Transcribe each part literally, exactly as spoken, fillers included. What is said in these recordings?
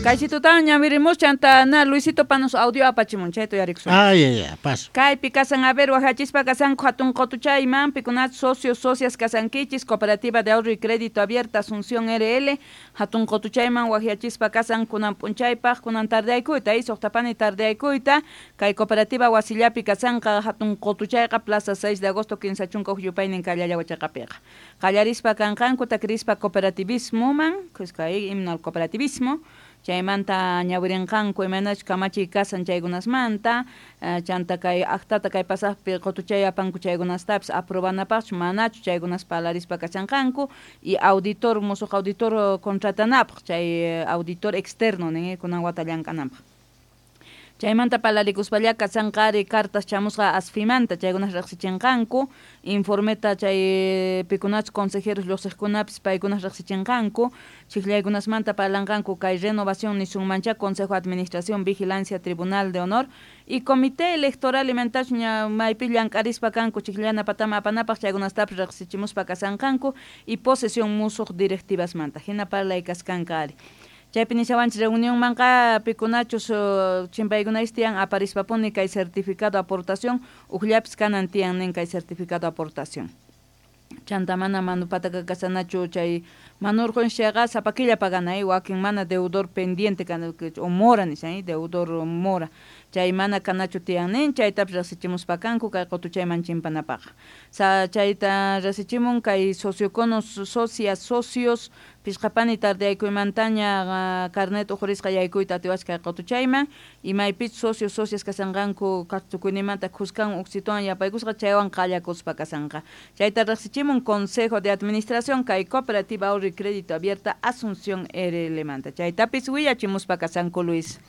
Kaychitutan ñawirimus chanta na Luisito panos audio apachimun chayta uyarikusun. Ay, ay, ay, paso. Kaypi kasan a ver wajachispa kasanku hatun qotuchayman pikunach socios socias kasankichis Cooperativa de Ahorro y Crédito Abierta Asunción R L hatun qotuchayman wajachispa kasan kunan p'unchaypaq kunan tardeaykuyta y suqtapani tardeaykuyta kay cooperativa wasillapi kasanqa hatun qotuchayqa Plaza seis de agosto kinsa chunka huk yupaynin kallalla wachaqapiqa qallarispa kanqanku takrispa cooperativismoman kay himno al cooperativismo chaymanta ñawirinqanku imaynachus kamachiy kasan chaykunasmanta chanta kay actata kay pasaqpi qotuchay apanku chaykunastapis aprobanapaqchu manachu chaykunas parlarispa kachanqanku y auditor musuq auditor contratanapaq chay auditor externo nin kunan wata llank'ananpaq. Chaymanta parlarikuspalla kasanqari cartas chamusqa asfimanta chaykunas riqsichinqanku informeta chay pikunachus consejeros lluqsiqkunapis paykunas riqsichinqanku chiklaykunasmanta parlanqanku kay renovación nisunmancha Consejo de Administración Vigilancia Tribunal de Honor y Comité Electoral imantachus ña maypi llank'arispa kanku chikllana patama apanapaq chaykunastapis riqsichimuspa kasanqanku y posesión musuq directivasmanta hina parlay kaskanqa ari. Chaypi nishawanchis reunionmanqa pikunachus chimpaykunapis tiyan aparispapuni kay certificado aportación ujllapis kanan tiyan nin kay certificado aportación. Chanta mana manupataka kasanachu chay manurqun chayqa sapa killa paganay wakin mana deudor pendiente o mora nishan deudor mora chay mana kanachu tiyan nin chaytapis riqsichimuspa kanku kay qotuchayman chimpanapaq. Sa chayta riqsichimun kay socioconos socias socios pishqapani tardeaykuymantaña carnet ujurisqa yaykuyta atiwasqa kay qotuchayman imaypich socios socias kasanqanku tukuyninmanta khuskan uksituwan yapaykusqa chaywan qallakuspa kasanqa. Chayta riqsichimun Consejo de Administración kay Cooperativa Ahorro y Crédito Abierta Asunción R L manta. Chaytapis willachimuspa kasanku Luis.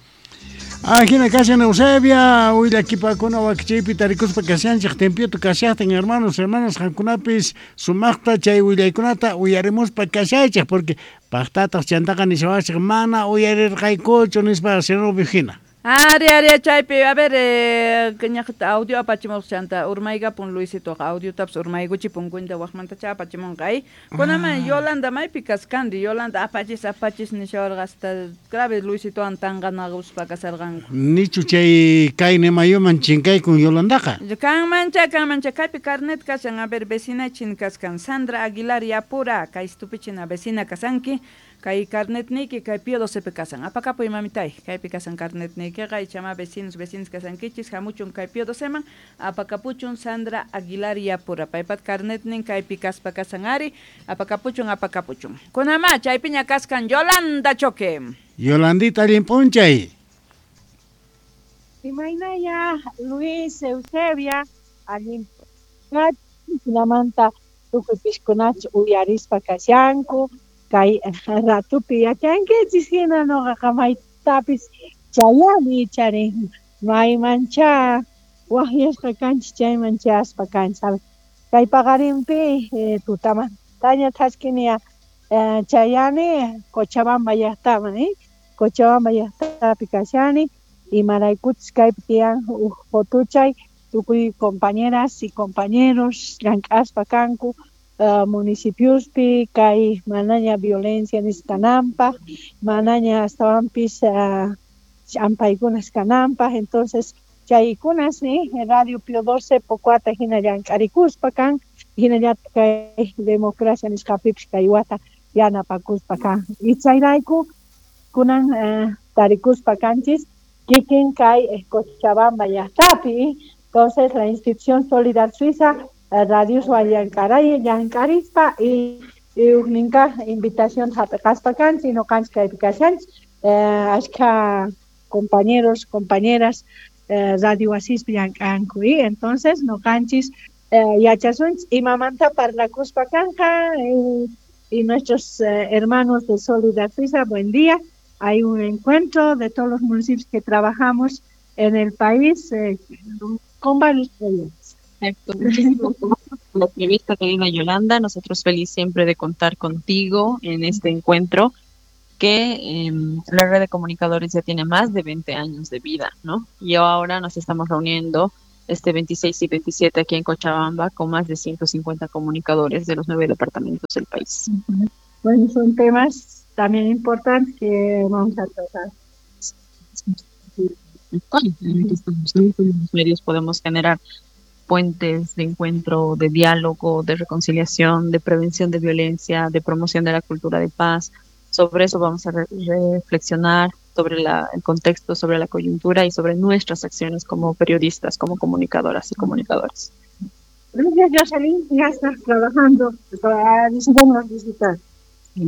Ajina kashan Eusebia, willakipakuna wakichaypi tarikuspa kashanchik tempieto kashaqtin hermanos, hermanas qankunapis sumaqta chay willaykunata uyarimuspa kashaychik porque paqtataq chantaqa nishawachik mana uyarirqaykuchu nispa Zenobio hina. Ari, ari, chaypi, a ver, eh, ñaqta audio apachimuq chanta urmaykapun Luisitoqa audiotapis urmaykuchipun cuenta waqmantacha apachimunqa ay. Kunaman Yolanda maypi kaskanri Yolanda apachis apachis nishawarqa hasta grave Luisitowan tanqanaquspa kasarqanku. Nichu chay kayni mayuman chinkaykun Yolandaqa. Kanmancha, kanmancha kaypi carnet kashan, a ver, vecina chin kaskan Sandra Aguilar Yapura, kay stupichina vecina kasanki. Kay carnet niki kay Pío doce kasan apakapuy mamitay kaypi kasan carnet nikiqa ichama vecinos vecinos kasankichis hamuchun kay Pío doceman apakapuchun Sandra Aguilar Yapura paypat carnet nin kaypi kaspa kasan ari apakapuchun apakapuchun kunama chaypiña kaskan Yolanda Choque. Yolandita allin p'unchay. Imaynaya Luis Eusebia allin p'unchaymanta tukuy piskunach uyarispa kashanku kay ratupi yachankichis hina noqaqa maytapis chayani charin maymancha waqyasqa kanchis chayman chayaspa kanchis kay paqarinpi eh, tutamantaña thaskiniya eh, chayani Cochabamba llaqtaman eh? Cochabamba llaqtapi kashani imaraykuchus kaypi tiyan uj qotuchay tukuy compañeras y compañeros llank'aspa kanku Uh, municipiospi kay manaña violencia nisqananpaq manaña astawanpis uh, ch'ampaykunas kananpaq entonces chaykunas ni Radio Pío doce Pocuata hina llank'arikuspa kan hinallataq kay democracia nisqapipis kay wata yanapakuspa kan y chayrayku kunan uh, tarikuspa kanchis kikin kay Cochabamba llaqtapi entonces la institución Solidar Suiza radios llank'aray llank'arispa y ujninka invitación hap'iqaspa kanchis noqanchis kaypi kashanchis eh, ashkha compañeros compañeras eh, radio wasispi llank'anku y entonces noqanchis eh, yachasunchis imamanta parlakuspa kanja eh, y nuestros eh, hermanos de Solidar Suiza, buen día. Hay un encuentro de todos los municipios que trabajamos en el país eh, con varios proyectos. Exacto. Muchísimas gracias por la entrevista, querida Yolanda. Nosotros feliz siempre de contar contigo en este encuentro que eh, la red de comunicadores ya tiene más de veinte años de vida, ¿no? Y ahora nos estamos reuniendo este veintiséis y veintisiete aquí en Cochabamba con más de ciento cincuenta comunicadores de los nueve departamentos del país. Bueno, son temas también importantes que vamos a tratar. Los medios podemos generar puentes de encuentro, de diálogo, de reconciliación, de prevención de violencia, de promoción de la cultura de paz. Sobre eso vamos a re reflexionar, sobre la, el contexto, sobre la coyuntura y sobre nuestras acciones como periodistas, como comunicadoras y comunicadores. Gracias, Jocelyn, ya estás trabajando para visitarnos digital.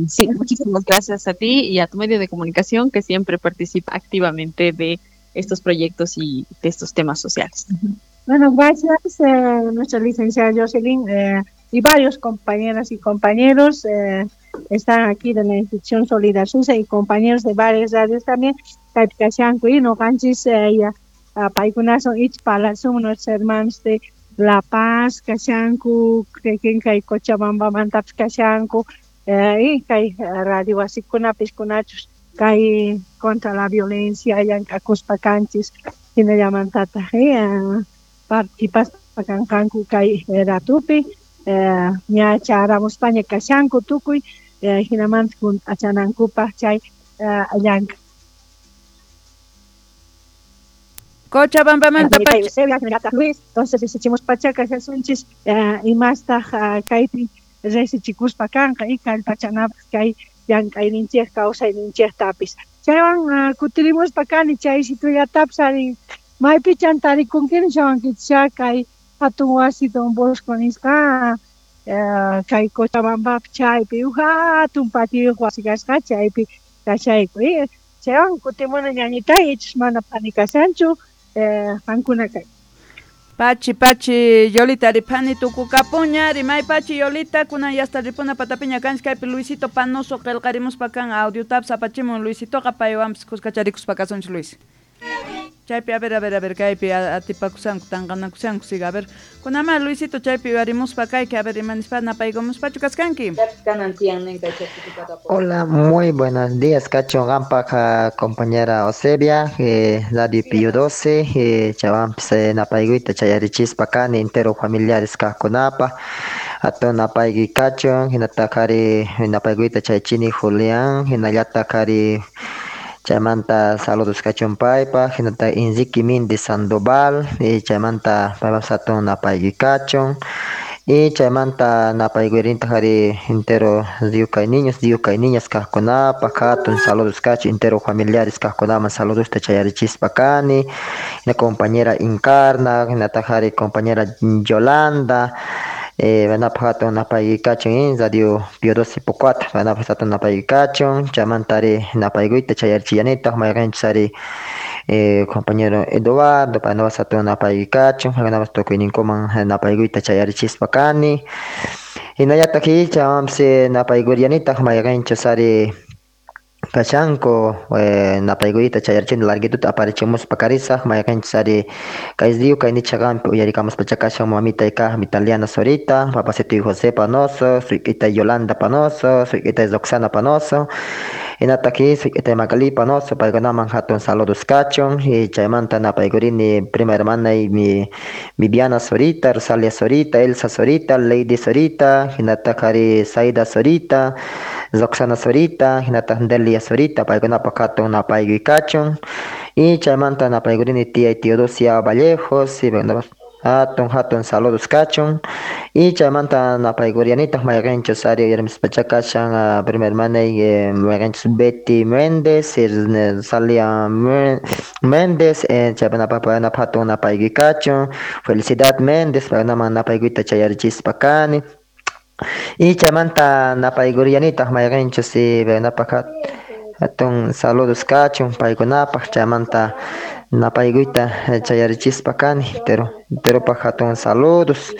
Sí, muchísimas gracias a ti y a tu medio de comunicación que siempre participa activamente de estos proyectos y de estos temas sociales. Bueno, gracias, eh, nuestra licenciada Jocelyn eh, y varios compañeras y compañeros eh, están aquí de la institución Solidar Susa y compañeros de varias radios también. Y noqanchis paykunasun ichpalasun nuestros hermanos de La Paz, kashanku, kay Cochabambamantapis kashanku, y kay radio wasikunapis kunachus kay contra la violencia llank'akuspa kanchis hinallamantataq participaspa kanqanku kay ratupi ña charamuspaña kashanku tukuy hinamanta hunt'achanankupaq chay llank'a. Cochabambamanta Luis, entonces risichimus pacha kashasunchis imastaq kaypi risichikuspa kanqa y kallpachanapaq kay llank'ayninchik kawsayninchiktapis. Chaywan kutirimuspa kani chay situllatapis arin maypichan tarikunkini shawankichik kay hatun wasi Don Bosco nisqa kay Cochabambapi chaypi uj hatun patiyuq wasi kasqa chaypi kashayku. Chaywan kutimuna ñañitay ichus mana phani kashanchu qankuna kay. Pachi, pachi, Yolita, ripani tukukapuña, rimay pachi, Yolita, kunan yasta ripuna patapiña kanchis kaypi Luisito Panoso qillqarimuspa kan audio taps apachimun Luisitoqa paywanpis kuskacharikuspa kasunchik Luis. Chaypi, a ver, a ver, a ver, kaypi atipakusanku, tanqanakusanku, siga, a ver. Kunama Luisito chaypi uyarimuspa kayki, a ver, imanispa napaykumuspachu kaskanki. Hola, muy buenos días, Cacho Gampa, compañera Eusebia, eh, Radio Pío doce, eh, chawampis eh, napayguita chayarichispa kani, entero familiares kajkunapa, ato napaygui kachun, hinatakari napayguita chaychini Julián, hinallatakari chaymanta saludos kachun paypaq, hinata Enrique Mindi Sandoval, y chaymanta paypaq hatun napaygui kachun, y chaymanta napayguirintaj ari entero diukay niños, diukay niñas kajkunapaq, hatun saludos kachun, entero familiares kajkunaman saludosta chayarichispa kani, hina compañera Encarna, hinataq ari compañera Yolanda, eh, vanapaq hatun napaygui kachun Radio Pío doce Pocuata, vanapaq hatun napaygui kachun, chaymanta ari napayguyta chayarichillanitaq mayqinchis ari eh, compañero Eduardo, paynapas hatun napaygui kachun, paykunapas tukuyninkuman napayguyta chayarichispa kani, hinallataq chaywanpis napayguriyanitaq mayqinchus ari kashanku eh, napayguyta chayarichini larguituta aparichimuspa karisaq mayqinchis ari kay diu kay nichaqanpi uyarikamuspacha kashan mamitay kaq Vitaliana Zorita, papasituy José Panoso, suyk'itay Yolanda Panoso, suyk'itay Roxana Panoso, hinataq suyk'itay Magali Panoso, paykunaman hatun saludos kachun, y chaymanta napaykurini prima hermanay mi Viviana Zorita, Rosalia Zorita, Elsa Zorita, Lady Zorita, hinataq ari Saida Zorita, Roxana Zorita, hinataq Delia Zorita, paykunapaq hatun napaygui kachun, y chaymanta napaykurini tía Teodosia Vallejos, y hatun hatun saludos kachun, y chaymanta napaygurianitaq mayqinchus ari uyarimuspacha kashan prima hermanay mayqinchus Betty Méndez, Rosalia Méndez, chaypanapak paykunapaq hatun napaygui kachun, Felicidad Méndez, paykunaman napayguyta chayarichispa kani, y chaymanta napaygurianitaq mayqinchus paykunapaq hatun saludos kachun paykunapaq, chaymanta napayguyta chayarichispa kani, pero enteropaq hatun saludos,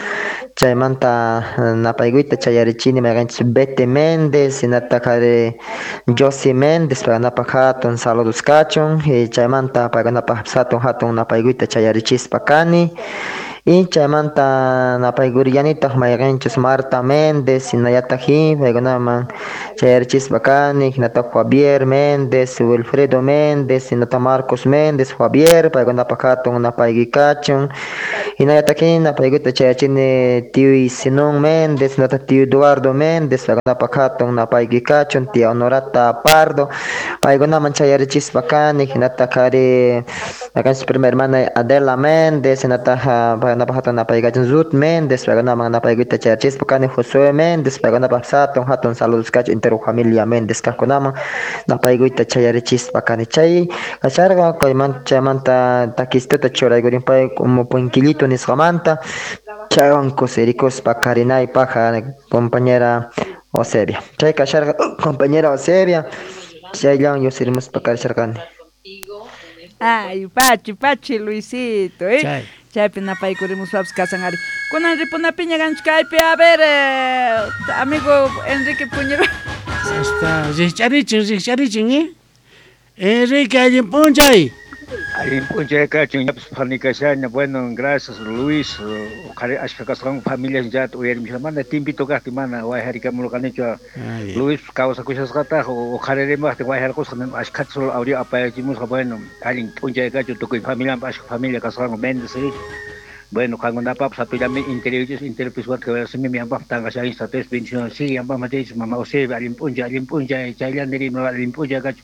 chaymanta napayguyta chayarichini mayqinchis Betty Méndez, hinataq ari Josie Méndez, paykunapaq hatun saludos kachun, y chaymanta paykunapaq hatun hatun napayguyta chayarichispa kani, Y chaymanta napaykuriyanitaq mayqinchus Marta Méndez hinallataq paykunaman chayarichispa kani hinataq Javier Méndez, Wilfredo Méndez, hinataq Marcos Méndez, Javier paykunapaq hatun napayki kachun hinallataq napaykuyta chayachini tío Sinón Méndez, hinataq tío Eduardo Méndez paykunapaq hatun napayki kachun tía Honorata Pardo paykunaman chayarichispa kani hinataq ari akanchis prima hermana Adela Méndez hinataq paykunapaq hatun napayki kachun Ruth Méndez paykunaman napaykuyta chayarichispa kani Josué Méndez paykunapaq hatun hatun saludos kachun entero familia Méndez kaqkunaman napaykuyta chayarichispa kani chay kacharqa kaymanta chaymanta takistuta churaykurinpay como puenquillito nisqamanta chaywan kusirikuspa karinaypaq compañera Eusebia chay kasharqa compañera Eusebia chayllawan yusirimuspa karisharqani. Ay, pachi, pachi, Luisito, eh. Chay. Chaypi napaykurimuspapas kasan ari. Kunan ripunapiña ganchkaypi, a ver, eh, amigo Enrique Puñero. Hasta rikch'arichin, rikch'arichin, eh. Enrique, allin p'unchay. Allin p'unchay kachun, ñapis phanikashaña. Bueno, gracias Luis. Uqhari ashka kasqanku familias llata uyarimushan. Mana timpito kaqtin mana wayharikamurqanichu. Luis kawsakushasqataq uqharirimaqtin wayharqusqa ashkhata solo audio apayachimusqa. Bueno, allin p'unchay kachun tukuy familianpa ashka familia kasqanku Méndez. Bueno, qankunapapas sapillami interiorchis interiorpis wata yanpaq tanqashayin sates bendición sí yanpaq machaychis mama Eusebia allin p'unchay allin p'unchay chayllani rima allin p'unchay kachun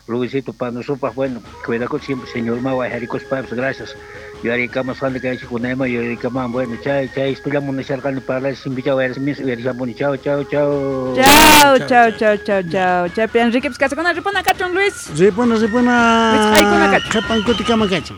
Luisito Panosupaq, bueno, cuidakuch siempre señor ma wayharikuspapas gracias. Yuyarikamasqani kaychik kunayman yuyarikaman bueno, chay chay estullamun munasharqani parlash simpichaw wayrismis uyarishampuni. Chau chau chau. Chau, chau, chau, chau, chau. Chaypi Enrique kasakuna ripuna kachun Luis. Ripuna, ripuna. Wisq'aykuna kachun. Qhipan kutikama kachun.